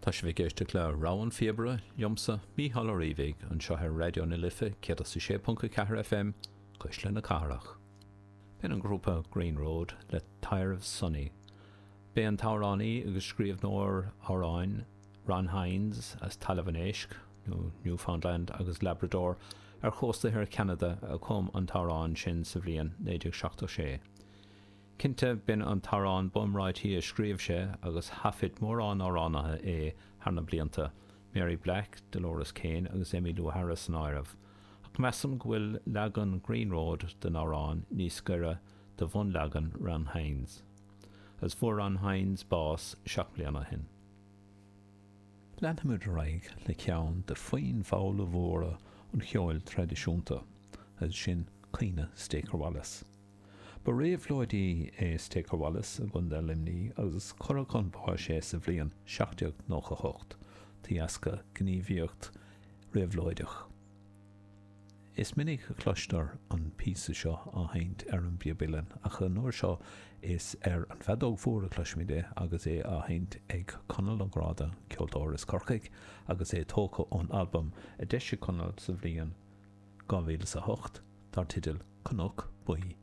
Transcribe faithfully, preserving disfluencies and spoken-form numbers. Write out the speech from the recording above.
Tá sibh ag éisteacht le Rogha an Phíobaire liomsa Mícheál Ó Riabhaigh anseo ar Raidió na Life céad a sé ponc a ceathair FM Cuisle na Cathrach. B'in an grúpa Green Road le Taidhreamh Sonny. B'é an t-amhránaí agus scríbhneoir amhráin Ron Hynes as Talamh an Éisc nó Newfoundland agus Labrador ar chósta thiar Cheanada a chum an t-amhrán sin sa bhliain naoi déag seachtó sé. Cinnte b'in an t-amhrán ba iomráití a scríobh sé agus thaifead mórán amhránaithe é thar na blianta, Mary Black, Dolores Keane agus Emmylou Harris san áireamh, ach measaim go bhfuil leagan Green Road den amhrán níos gaire do bhunleagan Ron Hynes. Agus fuair Ron Hynes bás seacht mbliana ó shin. Leanfaimid ar aghaidh le ceann de foinn mhalla mhóra an cheoil traidisiúnta, agus sin Caoineadh Staker Wallace. Ba réabhlóidí é Staker Wallace i gContae Luimnigh agus cuireadh chun báis é sa bhliain seacht déag nócha a hocht de dheasca gníomhaíocht réabhlóideach. Is minic a chloistear an píosa seo á sheinnt ar an bpíob uilleann ach an uair seo is ar an bhfeadóg mhór a chloisimid é agus é á sheinnt ag Conall Ó Gráda, ceoltóir as Corcaigh, agus é tógtha ón albam a d'eisigh Conall sa bhliain dhá mhíle is a hocht dar teideal Cnoc Buí.